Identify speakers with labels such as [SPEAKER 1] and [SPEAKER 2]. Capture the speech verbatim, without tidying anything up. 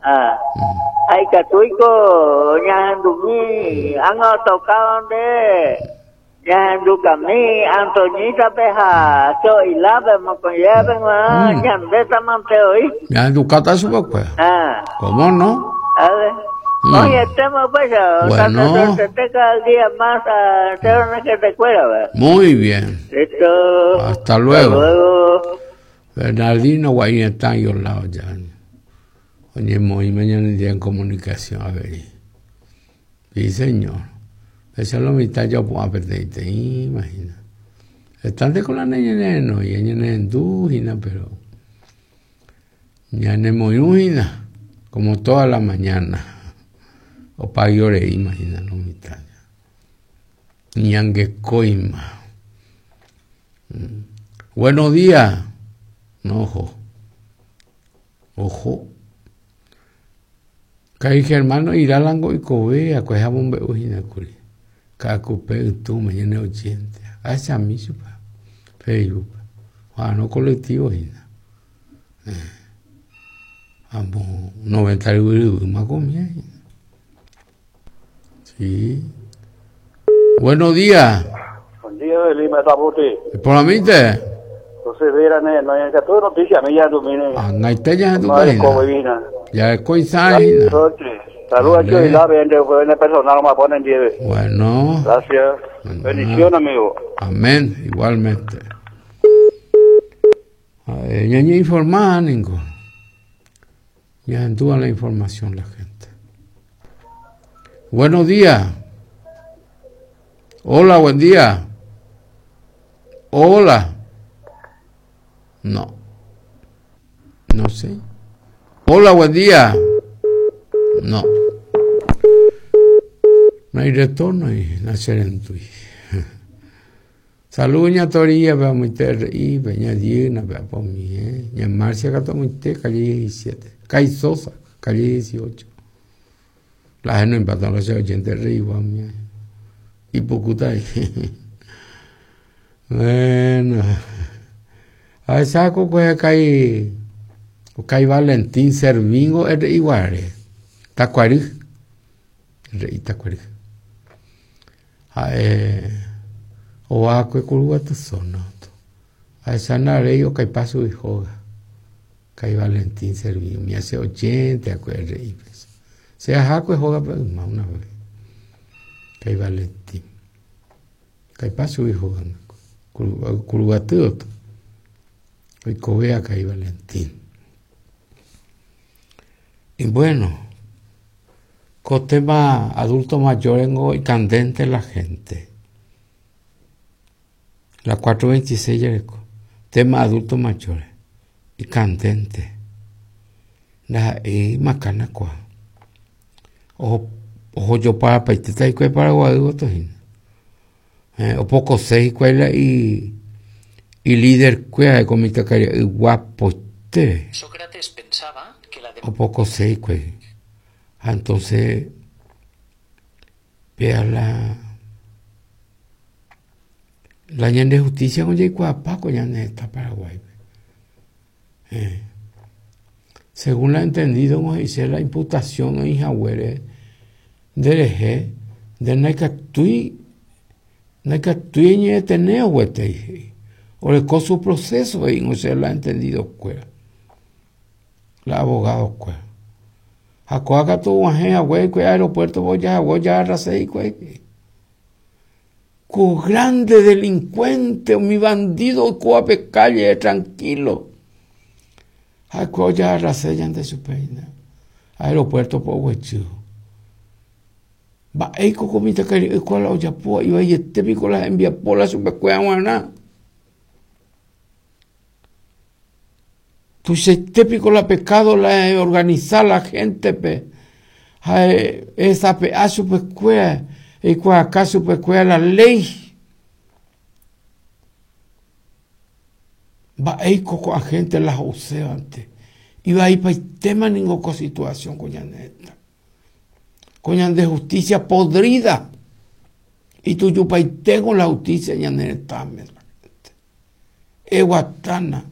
[SPEAKER 1] Ah. Ha ikatúiko ñahendumi ág̃a otokáva nde ñahendukami Antoñítape ha Cho'ilápe mokõivévape g̃uarã ñandétamante oĩ.
[SPEAKER 2] Ñahendukáta chupekuéra.
[SPEAKER 1] Ah.
[SPEAKER 2] ¿Cómo no?
[SPEAKER 1] A ver.
[SPEAKER 2] Mm.
[SPEAKER 1] Oĩetéma upéicha,
[SPEAKER 2] Bueno.
[SPEAKER 1] tanto cada día más a que te cuera, ¿verdad?
[SPEAKER 2] Muy bien.
[SPEAKER 1] Listo.
[SPEAKER 2] Hasta luego.
[SPEAKER 1] Hasta luego.
[SPEAKER 2] Bernardino Guainetán y lado ya. Oye, muy mañana día en comunicación, a ver. Sí, señor. Esa es la mitad yo puedo perder, imagina. Están de con la niña no, y ella no pero ya no como toda la mañana. O pa' imagina lo mitad. Ñangue coima. Buenos días. No, ojo. Ojo. Kai hermano iralango y cobea, pues bombe ujina curi. Kakupe tu mañana ochenta. Asa mi supa. Facebook. Ah, no colectivo hina. Amo noventa y uno más comía. Sí. Buenos días.
[SPEAKER 3] Buen día, Lima Tabuti.
[SPEAKER 2] Por la mitad.
[SPEAKER 3] Entonces, mira, no hay que noticia, a mí ya tú mire.
[SPEAKER 2] Ah, no hay tella en tu cabina. Ya es coincidencia.
[SPEAKER 3] Saludos a y la vende, vende personal, me ponen diez.
[SPEAKER 2] Bueno.
[SPEAKER 3] Gracias. Bendición, amigo.
[SPEAKER 2] Amén, igualmente. A ver, ñaña informada, Ningo. Ya endúa la información la gente. Buenos días. Hola, buen día. Hola. No. No sé. Hola, buen día. No. No hay retorno y nacer en tu. Salud, ña Toría, vea muy y peña Dina, vea por mí, eh. Ña Marcia, gato muy te, calle diecisiete. Calle Sosa, calle dieciocho. La gente no empató los ochenta igual, mía. Y poco ahí. Bueno. A saco pues cae cae Valentín Servingo es igual. Tacuarí. Rey Tacuarí. A eh o a que curva tu zona. A esa nare o cae paso y joga. Cae Valentín Servingo me hace ochenta a rey. Se jaco joga pero una vez. Cae Valentín. Cae paso y joga. Curva tu. Hoy cobea cae Valentín. Y bueno, con tema adulto mayor y candente la gente. La cuatro veintiséis tema adulto mayor y candente. La y macana cua. Ojo, ojo yo para paiteta y para guadu eh, o poco seis cuela y y líder cuea con mi tacaria guapo te.
[SPEAKER 4] Sócrates pensaba que la de...
[SPEAKER 2] O poco seis cuea. Entonces vea la la ñan de justicia con Paco ya en esta Paraguay. Eh. Según la entendido, como dice la imputación en Jahuere del eje de Naikatui, Naikatui ni deteneo huete. O le con su proceso y no se la ha entendido cuera. La abogado cuera. Jacoaca tu guaje, agüe, cue aeropuerto voy a voy a arrasé cue. Con grande delincuente, mi bandido coape calle tranquilo. Jacoa arrasé ya de su peina. Aeropuerto po huechu. Va eco comita que cual olla po iba y este pico la envía por la su pecuea guaná. Tu se típico la pecado la organizar la gente pe esa pe a su pecuea y cua acá su pecuea la ley va ahí coco a gente la usea antes y va ahí pa tema ninguna situación coña neta coña de justicia podrida y tú yo pa tengo la justicia ña neta me la gente eguatana.